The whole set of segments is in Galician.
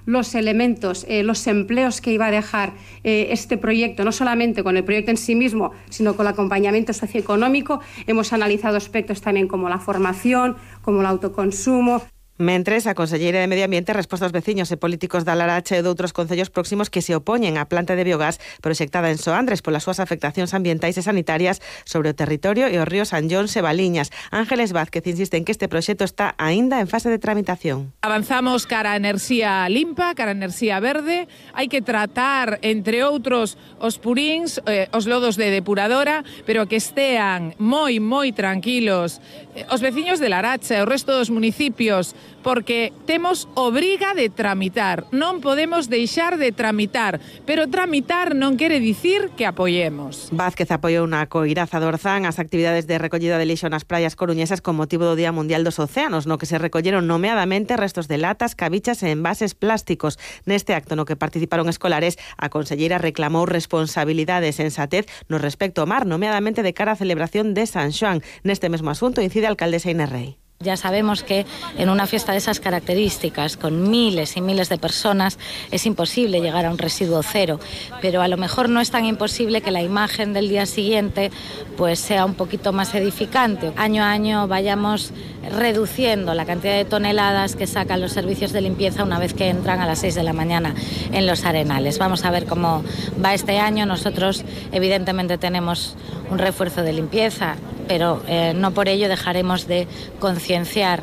los elementos, los empleos que iba a dejar este proyecto, no solamente con el proyecto en sí mismo, sino con el acompañamiento socioeconómico. Hemos analizado aspectos también como la formación, como el autoconsumo. Mentres, a Conselleira de Medio Ambiente resposta aos veciños e políticos da Laracha e doutros concellos próximos que se opoñen á planta de biogás proxectada en Soandres polas súas afectacións ambientais e sanitarias sobre o territorio e os ríos Anllóns e Valiñas. Ángeles Vázquez insiste en que este proxecto está aínda en fase de tramitación. Avanzamos cara a enerxía limpa, cara a enerxía verde. Hai que tratar, entre outros, os puríns, os lodos de depuradora, pero que estean moi tranquilos os veciños de Laracha e o resto dos municipios, porque temos obriga de tramitar, non podemos deixar de tramitar, pero tramitar non quere dicir que apoiemos. Vázquez apoiou na coiraza do Orzán as actividades de recollida de lixo nas praias coruñesas con motivo do Día Mundial dos Océanos, no que se recolleron nomeadamente restos de latas, cabichas e envases plásticos. Neste acto no que participaron escolares, a conselleira reclamou responsabilidade e sensatez no respecto ao mar, nomeadamente de cara á celebración de San Xoán. Neste mesmo asunto incide a alcaldesa Inés Rey. Ya sabemos que en una fiesta de esas características, con miles y miles de personas, es imposible llegar a un residuo cero, pero a lo mejor no es tan imposible que la imagen del día siguiente pues sea un poquito más edificante. Año a año vayamos reduciendo la cantidad de toneladas que sacan los servicios de limpieza una vez que entran a las 6 de la mañana en los arenales. Vamos a ver cómo va este año. Nosotros evidentemente tenemos un refuerzo de limpieza, pero no por ello dejaremos de concienciar.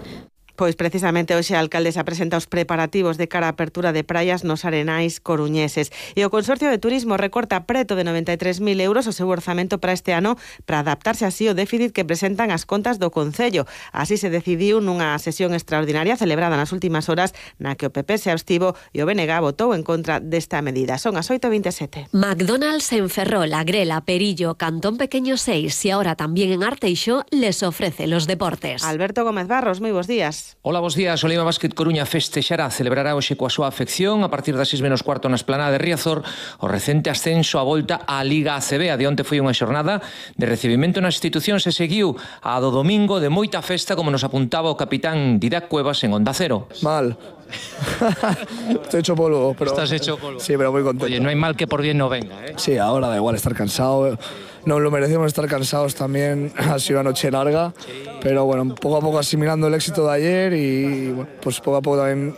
Pois precisamente hoxe a alcaldesa presenta os preparativos de cara á apertura de praias nos arenais coruñeses. E o Consorcio de Turismo recorta preto de 93.000 euros o seu orzamento para este ano para adaptarse así ao déficit que presentan as contas do Concello. Así se decidiu nunha sesión extraordinaria celebrada nas últimas horas na que o PP se abstivo e o BNG votou en contra desta medida. Son as 8:27. McDonald's en Ferrol, Agrela, Perillo, Cantón Pequeño 6 y ahora también en Arteixo les ofrece los deportes. Alberto Gómez Barros, moi bons días. Hola, bos días. O Lima Basket Coruña festexará, celebrará hoxe coa súa afección a partir das 6:15 na esplanada de Riazor o recente ascenso a volta á Liga ACB. A de onte foi unha xornada de recibimento nas institucións e seguiu a do domingo de moita festa, como nos apuntaba o capitán Didac Cuevas en Onda Cero. Mal. Estoy hecho polvo, pero... Estás hecho polvo. Sí, pero muy contento. Oye, no hay mal que por bien no venga, ¿eh? Sí, ahora da igual estar cansado. Nos lo merecemos estar cansados también. Ha sido una noche larga, pero bueno, poco a poco asimilando el éxito de ayer y bueno, pues poco a poco también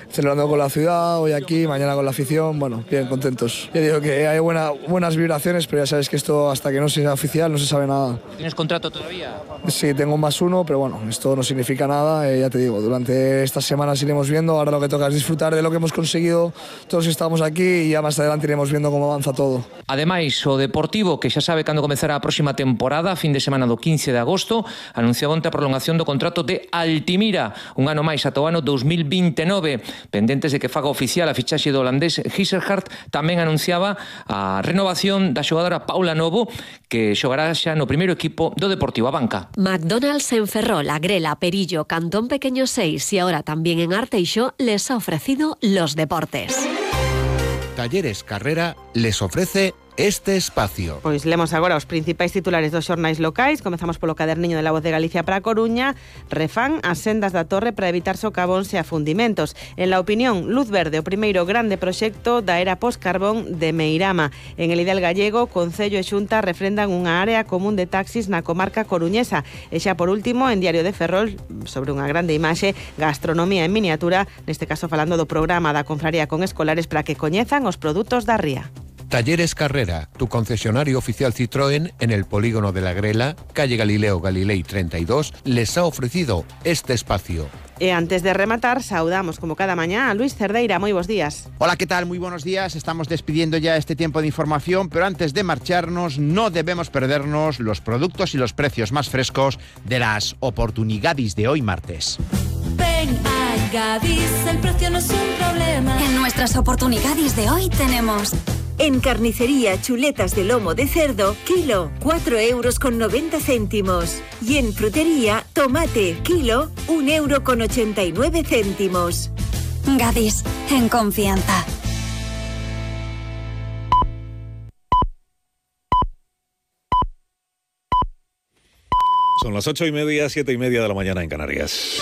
celebrando con la ciudad, hoy aquí, mañana con la afición, bueno, bien contentos. Yo digo que hay buenas vibraciones, pero ya sabes que esto hasta que no sea oficial no se sabe nada. ¿Tienes contrato todavía? Sí, tengo +1, pero bueno, esto no significa nada, ya te digo, durante estas semanas iremos viendo, ahora lo que toca es disfrutar de lo que hemos conseguido todos que estamos aquí y ya más adelante iremos viendo cómo avanza todo. Ademais, o Deportivo, que xa sabe cando comezará a próxima temporada, fin de semana do 15 de agosto, anunciaba onte a prolongación do contrato de Altimira, un ano máis ata o ano 2029. Pendentes de que faga oficial a fichaxe do holandés Giselhardt, tamén anunciaba a renovación da xogadora Paula Novo, que xogará xa no primeiro equipo do Deportivo Abanca. McDonald's en Ferrol, Agrela, Perillo, Cantón Pequeño 6 y ahora también en Arteixo les ha ofrecido los deportes. Talleres Carrera les ofrece este espacio. Pois lemos agora os principais titulares dos xornais locais. Comezamos polo caderniño de La Voz de Galicia para a Coruña. Refán as sendas da Torre para evitar socavóns e afundimentos. En La Opinión, luz verde, o primeiro grande proxecto da era post-carbón de Meirama. En El Ideal Gallego, Concello e Xunta refrendan unha área común de taxis na comarca coruñesa. E xa por último, en Diario de Ferrol, sobre unha grande imaxe, gastronomía en miniatura, neste caso falando do programa da confraría con escolares para que coñezan os produtos da ría. Talleres Carrera, tu concesionario oficial Citroën en el polígono de la Grela, calle Galileo Galilei 32, les ha ofrecido este espacio. E antes de rematar, saudamos como cada mañá a Luis Cerdeira. Moi bons días. Hola, ¿qué tal? Muy buenos días. Estamos despidiendo ya este tiempo de información, pero antes de marcharnos no debemos perdernos los productos y los precios más frescos de las oportunidades de hoy martes. Ven a Gadis, el precio no es un problema. En nuestras oportunidades de hoy tenemos... En carnicería, chuletas de lomo de cerdo, kilo, 4,90 €. Y en frutería, tomate, kilo, 1,89 €. Gadis, en confianza. Son las 8:30, 7:30 de la mañana en Canarias.